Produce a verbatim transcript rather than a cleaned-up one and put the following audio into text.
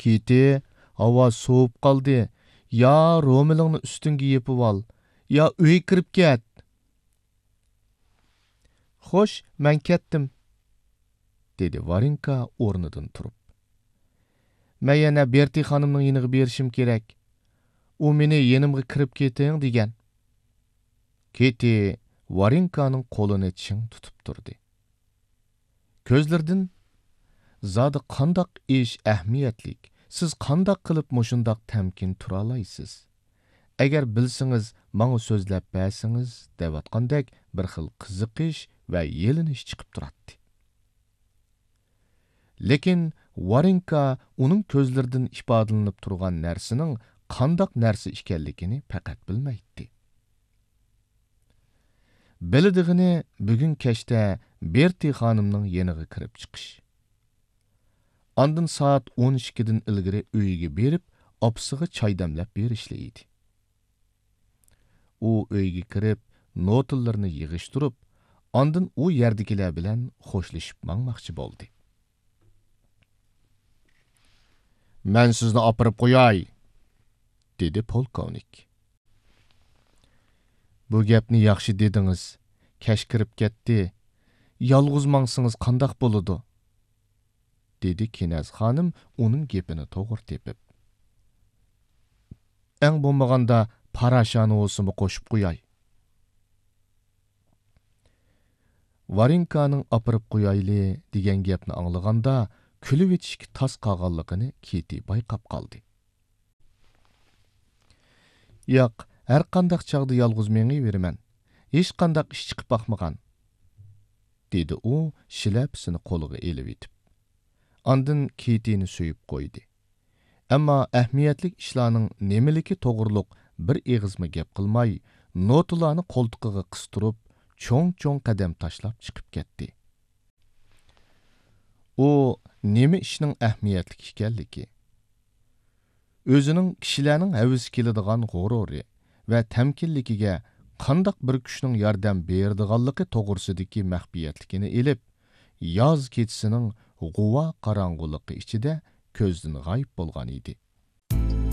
كىتى، ھاۋا سوۋۇپ قالدى. يا رومىلىڭنى ئۈستۈڭگە يېپىۋال، يا ئۆيگە كىرىپ كەت. خوش، مەن كەتتىم، دېدى ۋارېنكا ئورنىدىن تۇرۇپ. مەن يەنە بېرتى خانىمنىڭ يېنىغا بېرىشىم كېرەك. ئۇ مېنى يېنىمغا كىرىپ كېتىڭ دېگەن. كىتى ۋارېنكانىڭ قولىنى چىڭ تۇتۇپ تۇردى. كۆزلىرىدىن، زادى قانداق ئىش ئەھمىيەتلىك؟ سىز قانداق قىلىپ مۇشۇنداق تەمكىن تۇرالايسىز؟ ئەگەر بىلسىڭىز، ماڭا سۆزلەپ بەرسىڭىز، دەۋاتقاندەك بىر خىل قىزىقىش ۋە يېلىنىش چىقىپ تۇراتتى. لېكىن ۋارېنكا ئۇنىڭ كۆزلىرىدىن ئىپادىلىنىپ تۇرغان نەرسىنىڭ قانداق نەرسە ئىكەنلىكىنى پەقەت بىلمەيتتى. بىلىدىغىنى بۈگۈن كەچتە بېرتى خانىمنىڭ يېنىغا كىرىپ چىقىش. ئاندىن سائەت ئون ئىككىدىن ئىلگىرى ئۆيىگە بېرىپ، ئاپىسىغا چاي دەملەپ بېرىشلا ئىدى. ئۇ ئۆيگە كىرىپ، نوتىلىرىنى يىغىشتۇرۇپ، ئاندىن ئۇ يەردىكىلەر بىلەن خوشلىشىپ ماڭماقچى بولدى. مەن سىزنى ئاپىرىپ قوياي، دېدى پولكوۋنىك. بۇ گەپنى ياخشى دېدىڭىز. كەچ كىرىپ كەتتى. يالغۇز ماڭسىڭىز قانداق بولىدۇ؟ دېدى كېنەز خانىم ئۇنىڭ گېپىنى توغرا تېپىپ. ئەڭ بولمىغاندا پاراشانى بولسىمۇ قوشۇپ قوياي. ۋارېنكانىڭ ئاپىرىپ قويايلى دېگەن گەپنى ئاڭلىغاندا، كۈلۈۋېتىشكە تاس قالغانلىقىنى كىتى بايقاپ قالدى. ياق، ھەرقانداق چاغدا يالغۇز مېڭىۋېرىمەن. ھېچقانداق ئىش چىقىپ باقمىغان، دېدى ئۇ شىلەپىسىنى قولىغا ئېلىۋېتىپ. ئاندىن كىتىنى سۆيۈپ قويدى. ئەمما ئەھمىيەتلىك ئىشلارنىڭ نېمىلىكى توغرۇلۇق بىر ئېغىزمۇ گەپ قىلماي، نوتىلارنى قولتۇقىغا قىستۇرۇپ، چوڭ-چوڭ قەدەم تاشلاپ چىقىپ كەتتى. ئۇ نېمە ئىشنىڭ ئەھمىيەتلىك ئىكەنلىكى، ئۆزىنىڭ كىشىلەرنىڭ ھەۋىسى كېلىدىغان غۇرۇرى ۋە تەمكىنلىكىگە قانداق بىر كۈچنىڭ ياردەم بېرىدىغانلىقى توغرىسىدىكى مەخپىيەتلىكىنى ئېلىپ، ياز كېچىسىنىڭ غۇۋا قاراڭغۇلۇقى ئىچىدە كۆزدىن غايىب بولغان ئىدى.